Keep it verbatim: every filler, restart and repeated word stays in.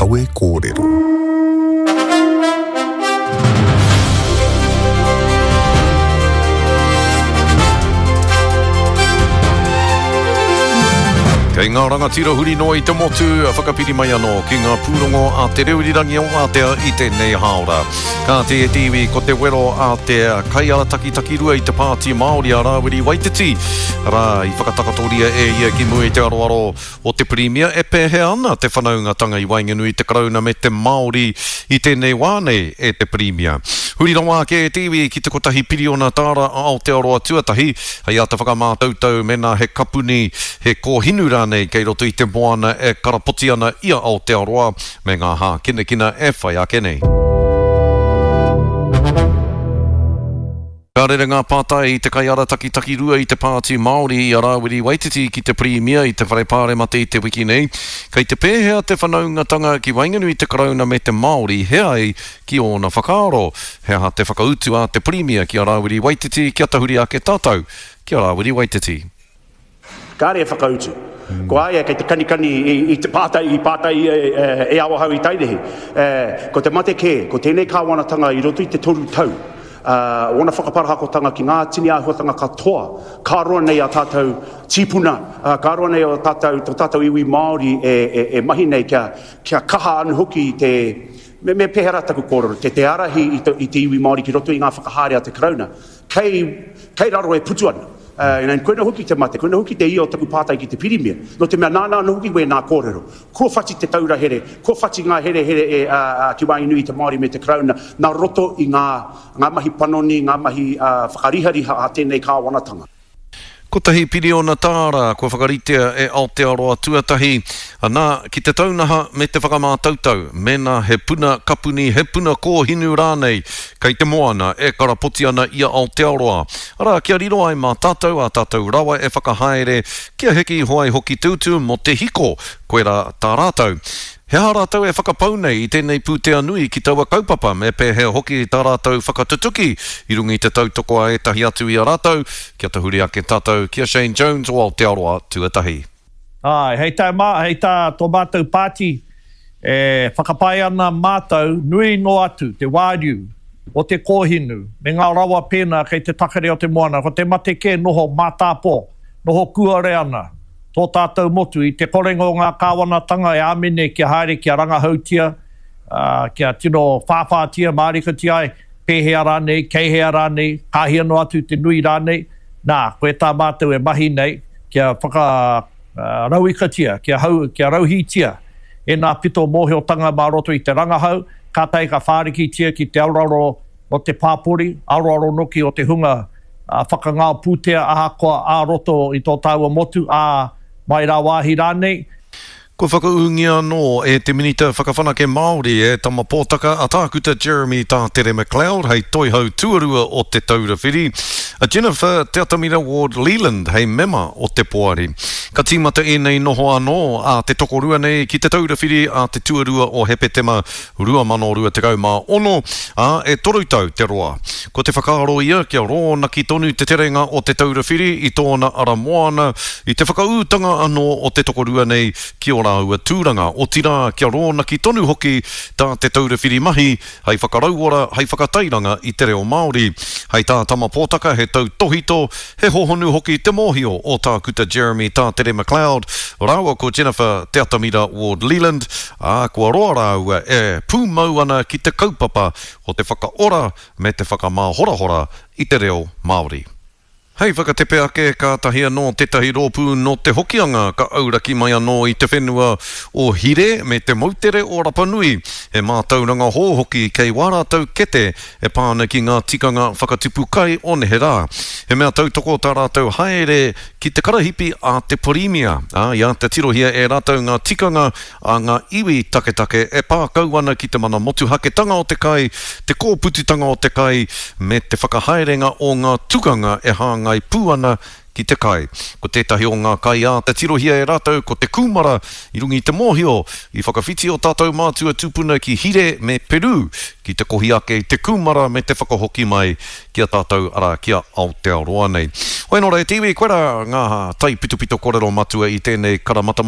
kawe kōrero. Kei ngā rangatira huri noa i te motu, a whakapiri mai anō ki ngā pūrongo a Te Reo Irirangi o Ātea i tēnei hāora. Kāti e te iwi, ko te wero a te kaiarataki takirua i te Pāti Māori a Rāwiri Waititi, arā, i whakatakatoria e ia ki mua i te aroaro o te Pirimia e pēhea ana te whanaungatanga i waenganui i te Karauna me te Māori i tēnei wā nei e te Pirimia. Huri rawa ake e te iwi ki te kotahi piriona tāra a Aotearoa Tuatahi hei āta whakamātautau mēnā he kapuni, he kōhinu rānei kei roto i te moana e karapoti ana i a Aotearoa me ngā hākinakina e whai ake nei. Ka rere ngā pātai i te kaiarataki takirua i te Pāti Māori i a Rāwiri Waititi ki te Pirimia i te Whare Pāremata i te wiki nei. Kei te pēhea te whanaungatanga ki waenganui i te Karauna me te Māori he ai ki ōna whakaaro? He aha te whakautu a te Pirimia ki a Rāwiri Waititi kia tahuri ake tātou ki a Rāwiri Waititi? Kāre e whakautu. Ko a ia kei te kanikani i te pātai i pātai ia e Awahou i Tairihi. Ko te mate kē, ko tēnei kāwanatanga i roto i te toru tau, ōna whakaparahakotanga ki ngā tini āhuatanga katoa, ka roa nei a tātou tīpuna, ka roa nei o tātou, tō tātou iwi Māori e mahi nei kia, kia kaha anu hoki te, me, me pēhea rā taku kōrero, te, te ārahi i te, i te iwi Māori ki roto i ngā whakahaere a te Karauna, kei, kei raro e putu ana. Uh, koina hoki te mate, koina hoki te ia o taku pātai ki te Pirimia. Nō te mea nāna anō hoki wēnā kōrero. Kua whati te taura here, kua whati ngā herehere e, uh, ki waenganui i te Māori me te Karauna, nā roto i ngā, ngā mahi panoni, ngā mahi uh, whakarihariha a tēnei kāwanatanga. Kotahi piriona tāra kua whakaritea e Aotearoa Tuatahi, ana ki te taunaha me te whakamātautau, mēnā he puna kapuni, he puna kōhinu rānei, kei te moana e karapoti ana i a Aotearoa. Arā, kia riro ai mā tātou a tātou rawa e whakahaere, kia heke iho ai hoki te utu mō te hiko, koirā tā rātou. He aha rātou e whakapau nei i tēnei pūtea nui ki taua kaupapa, me pēhea hoki tā rātou whakatutuki i runga i te tautoko a ētahi atu i a rātou, kia tahuri ake tātou ki a Shane Jones o Aotearoa Tuatahi. Ai, hei tā, mā, hei tā tō mātou pāti, e whakapae ana mātou nui noa atu te wāriu o te kōhinu me ngā rawa pēnā kei te takere o te moana, ko te mate kē noho mātāpō, noho kuare ana tō tātou motu i te korenga o ngā kāwanatanga e āmine kia haere kia rangahautia, uh, kia tino whāwhātia, mārikatia ai, pēhea rānei, kei hea rānei, kāhia noa atu te nui rānei, nā, koe tā mātou e mahi nei, kia whakarauikatia, kia, hau, kia rauhītia e nā pito mōhiotanga mā roto i te rangahau, kātahi ka whārikitia ki te aroaro o te pāpori, aroaro noki o te hunga uh, whakangao pūtea ahakoa ā roto i tō tāua motu, ā mai rā wāhi rānei. Kua whakaūngia anō e te Minita Whakawhanake Māori e Tama Pōtaka a Tākuta Jeremy Tātere MacLeod hei toihau tuarua o Te Taura Whiri, a Jennifer Te Atamira Ward Leland hei mema o te poari. Ka tīmata ēnei noho anō a te tokorua nei ki Te Taura Whiri a te tuarua o Hepetema rua mano rua tekau mā ono, ā, e toru tau te roa. Ko te whakaaro ia kia rōnaki tonu te terenga o Te Taura Whiri i tōna ara moana i te whakaūtanga anō o te tokorua nei ki o rāua tūranga, otirā kia rōnaki tonu hoki tā Te Taura Whiri mahi hei whakarauora, hei whakatairanga i te reo Māori. Hei tā Tama Pōtaka he tautohito, he hohonu hoki te mōhio o Tākuta Jeremy Tātere MacLeod, rāua ko Jennifer Te Atamira Ward Leland, ā, kua roa rāua e pūmau ana ki te kaupapa o te whakaora me te whakamāhorahora i te reo Māori. Hei whakatepe ake kātahi anō tētahi rōpū nō te Hokianga ka auraki mai anō i te whenua o Hire me te moutere o Rapanui. He mātauranga hou hoki kei wā rātou kete e pā ana ki ngā tikanga whakatupu kai o neherā. He mea tautoko tā rātou haere ki te karahipi a te Pirimia. Ā, i āta tirohia e rātou ngā tikanga a ngā iwi taketake e pā kau ana ki te mana motuhaketanga o te kai, te kōpututanga o te kai, me te whakahaerenga o ngā tukanga e hāngai pū ana ki te kai. Ko tētahi o ngā kai āta tirohia e rātou ko te kūmara i runga i te mōhio i whakawhiti o tātou mātua tūpuna ki Hire me Peru ki te kohi ake i te kūmara me te whakahoki mai ki a tātou arā ki a Aotearoa nei. Hoi nō rā e te iwi, koirā ngā taipitopito kōrero matua i tēnei karamatamata